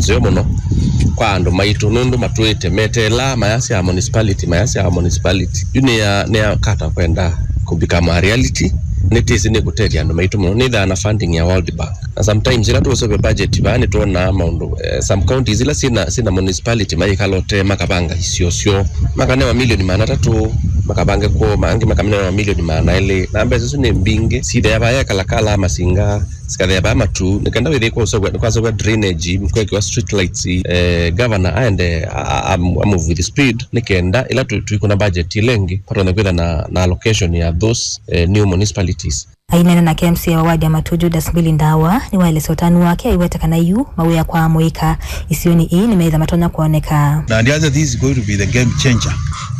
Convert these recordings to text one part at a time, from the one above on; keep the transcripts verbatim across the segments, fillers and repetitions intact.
nzeo mũno kwa andũ maitũ, nũndũ matwĩte meteelaa mayasya municipality, mayasya municipality. Yu nĩ ya, nĩ ya kata kwenda kũbika ma reality, nĩtĩsĩ nĩkũtethya andũ maitũ mũno, nĩthaa na funding ya World Bank. Na sometimes ĩla tũũseũvya budget vaa nĩtwonaa maũndũ, eh, some counties ila sina, sina municipality mayĩkala ũtee makavanga isio syoo, makanewa milioni maana atatũ, makavange kwoo, angĩ makamenewa milioni maana elĩ. Na mbesa isu nĩ mbingĩ, sithea vaa yekalakala masinga, sikathea vaa matu, nĩ kenda wĩthĩe kwa ũseũvya, nĩkwaseũvya drainage, kwekĩwa street lights, eh, governor aende a, a, a move with speed, nĩ kenda ĩla tũ-, tũikũna budget ĩla ĩngĩ, patonye kwĩtha na, na allocation ya those, eh, new municipalities. Aineena na K M C A wa ward ya Matu, Judas Mbili Ndawa, nĩwaelesya ũtanu wake aiweta kana yu mawĩa kwa mũika isionĩ ii nĩmetha matonya kwoneka. Na ndianza this is going to be the game changer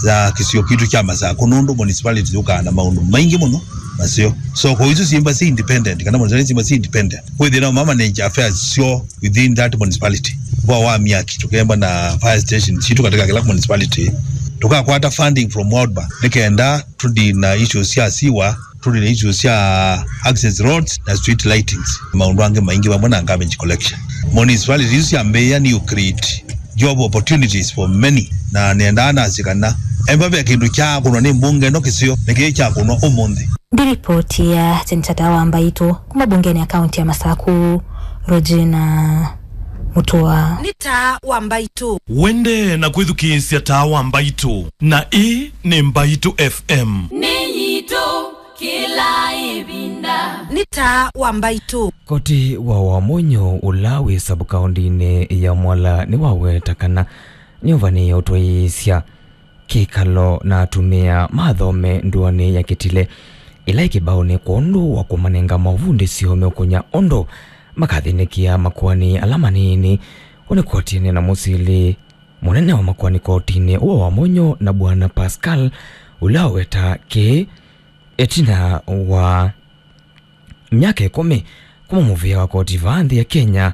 ya kĩsio kitũ kya Masakũ, nũndũ municipality yũkaa na maũndũ maingĩ mũno maseo. So kwa isu syĩmba si independent, kana municipality syĩmba si independent, kwĩthĩna mama nĩ affairs syo within that municipality. Kwa wa miaki, tũkemba na fire station sitũ katika kila municipality, tũkakwata funding from World Bank nĩ kenda tũdi na issues sya siwa, tũli na issues sya access roads na street lightings, maũndũ angĩ maingĩ vamwe na garbage collection. Municipalities isu syambĩĩa nĩ create job opportunities for many, na nĩendaa nasye kana embavea kĩndũ kyakũnwa nĩ mbunge ĩno kĩseo nĩkĩĩ kyakũnwa ũmũnthĩ. Ndi ripoti ya Chenchata wa Mbaitũ kuma mbungenĩ ya kaunti ya Masakũ, Regina Mutua. Nĩ Taa wa Mbaitũ. Wende na kwĩthukĩĩsya Taa wa Mbaitũ, na ĩĩ nĩ Mbaitũ F M. Nĩ yitũ kĩla ĩvinda. Nĩ Taa wa Mbaitũ. Koti wa Wamunyu ũla wĩ sabu kaũndĩnĩ ya Mwala nĩwaweta kana nĩũvanĩĩe ũtwaĩĩsya kĩkalo na atumĩa ma athome ndũanĩ ya Kitile ĩla ĩ kĩbaũnĩ kwondũ wa kũmanenga maũvundĩsyo meũkũnya ũndũ makathĩnĩkĩa makoani ala manini. Ũnĩ koti ĩneena mũsili mũnene wa makoani kotinĩ ũũ wa Wamunyu na Bwana Pascal ũla waweta kĩĩ ĩtina wa myaka ĩkũmi kuma mũvĩa wa koti vaa nthĩ ya Kenya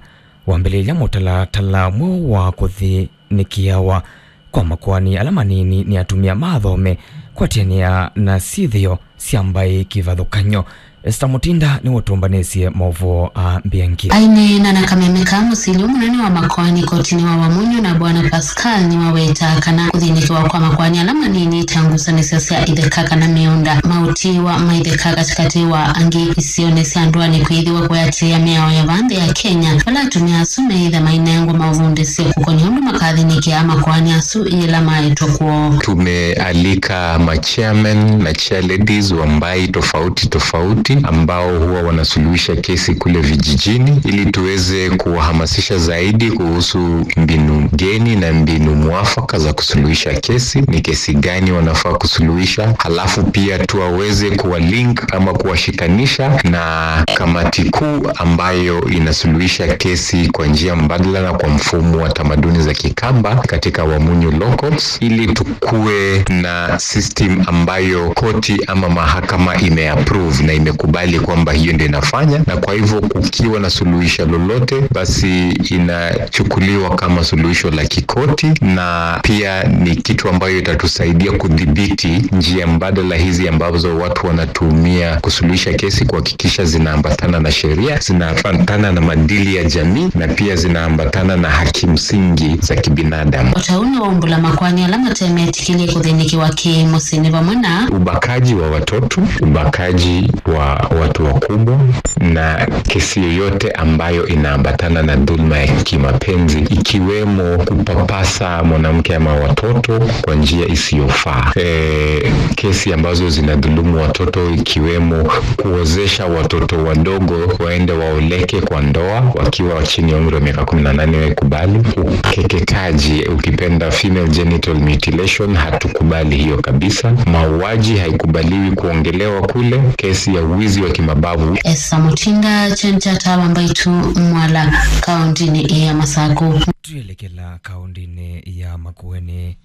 wambĩlĩlya mũtalatala mweũ wa kũthĩnĩkĩawa kwa makoani ala manini nĩ atumĩa ma athome kwatĩanĩa na syĩthĩo sya mbaĩ kĩvathũkany'o. Esther Mutinda nĩwe ũtũmbanĩsye maũvoo aa mbeange. Aineena na kameme ka mũsili mũnene wa makoani kotinĩ wa Wamunyu na Bwana Pascal nĩwaweta kana kũthĩnĩkĩwa kwa makoani ala manini ta ngusanĩsyo sya itheka kana mĩũnda, maũtiĩwa ma itheka katĩkatĩ wa angĩ isionĩ sya ndũanĩ kwĩthĩwa kũyatĩĩa mĩao ya vaa nthĩ ya Kenya, vala atumĩa asu meĩtha mainengwa maũvundĩsyo kũkony'a ũndũ makathĩnĩkĩa makoani asu yĩla maetwe kwoo. Tumealika machairmen na chairladies wa mbaĩ tofauti tofauti ambao huwa wanasuluhisha kesi kule vijijini ili tuweze kuwahamasisha zaidi kuhusu mbinu geni na mbinu mwafaka za kusuluhisha kesi, ni kesi gani wanafaa kusuluhisha, halafu pia tuwaweze kuwa link ama kuwashikanisha na kamati kuu ambayo inasuluhisha kesi kwa njia mbadala na kwa mfumo wa tamaduni za Kikamba katika Wamunyu Locals, ili tukuwe na system ambayo koti ama mahakama imeapprove na imekubali kwamba hiyo ndio inafanya, na kwa hivyo kukiwa na suluhisho lolote, basi inachukuliwa kama suluhisho la kikoti, na pia ni kitu ambayo itatusaidia kudhibiti njia mbadala hizi ambazo watu wanatumia kusuluhisha kesi, kuhakikisha zinaambatana na sheria, zinaambatana na maadili ya jamii, na pia zinaambatana na haki msingi za kibinadamu. O ta ũu nĩwaumbũla makoani ala mate metĩkĩlye kũthĩnĩkĩwa kĩ-mũsyĩ nĩ vamwe na ubakaji wa watoto, ubakaji wa watu wakubwa, na kesi yoyote ambayo inaambatana na dhulma ya kimapenzi, ikiwemo kupapasa mwanamke ama watoto kwa njia isiyofaa. E, kesi ambazo zinadhulumu watoto, ikiwemo kuozesha watoto wadogo waende waoleke kwa ndoa wakiwa chini ya umri wa miaka kumi na nane, waikubali. Ukeketaji, ukipenda female genital mutilation, hatukubali hiyo kabisa. Mauaji haikubaliwi kuongelewa kule. Kesi ya wizi wa kimabavu. Esther Mutinda, Chenchata wa Mbaitũ, Mwala, kaũntĩnĩ ya Masakũ. Twĩelekela kaũntĩnĩ ya Makueni.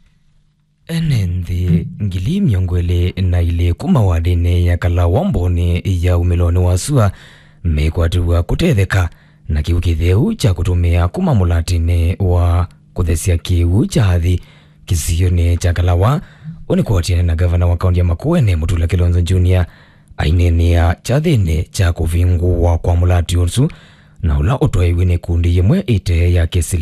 Ene nthĩ ngili mĩongo ĩlĩ na ilĩ kuma wadĩnĩ ya Kalawa mbonĩ ya umĩlonĩ wa sua mekwatĩw'a kũtetheka na kĩw'ũ kĩtheu kya kũtũmĩa kuma mũlatinĩ wa kũthesya kĩw'ũ kya athi kĩsionĩ kya Kalawa. Ũnĩ kũatĩana na gavana wa kaunti ya Makueni, Mutula Kilonzo Junior, aineenea kyathĩnĩ kya kũvingũwa kwa mũlati ũsu, na ũla ũtwaĩw'e nĩ ikundi yĩmwe ĩte ya kĩsili